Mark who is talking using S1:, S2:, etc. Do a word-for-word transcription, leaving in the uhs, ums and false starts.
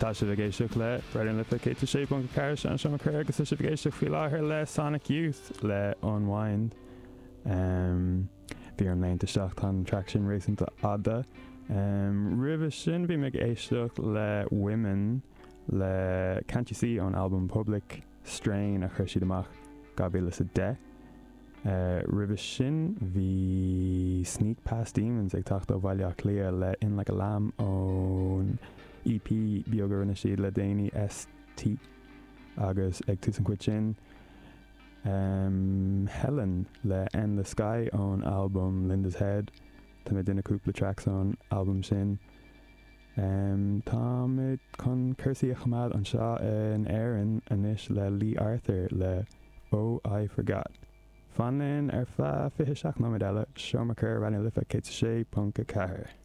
S1: Tá sibh ag éisteacht le Raidió na Life céad sé ponc ceathair an Seomra Coire agus tá sibh ag éisteacht faoi láthair le Sonic Youth le Unwind. Um, bhí orm léimt isteach tá an track sin réasúnta fhada. Um, Roimhe sin bhí mé ag éisteacht le Women le Can't You See ón album Public Strain a chuir siad amach dhá mhíle is a deich. Uh, Roimhe sin bhí Sneak Past Demons ag teacht ó Bhaile Átha Cliath le In Like a Lamb ón EP beag a rinne siad le déanaí ST agus ag tús an chuid sin um, Helen le Endless Sky ón album Linda's Head Tá mé duine cúpla tracks ón album sin. Um, Tá chun cúrsaí a choimeád anseo in Éirinn anois le Lee Arthur le Oh I Forgot. Fan linn ar feadh fiche seacht nóiméad eile Seomra Coire Raidió na Life céad sé ponc a ceathair.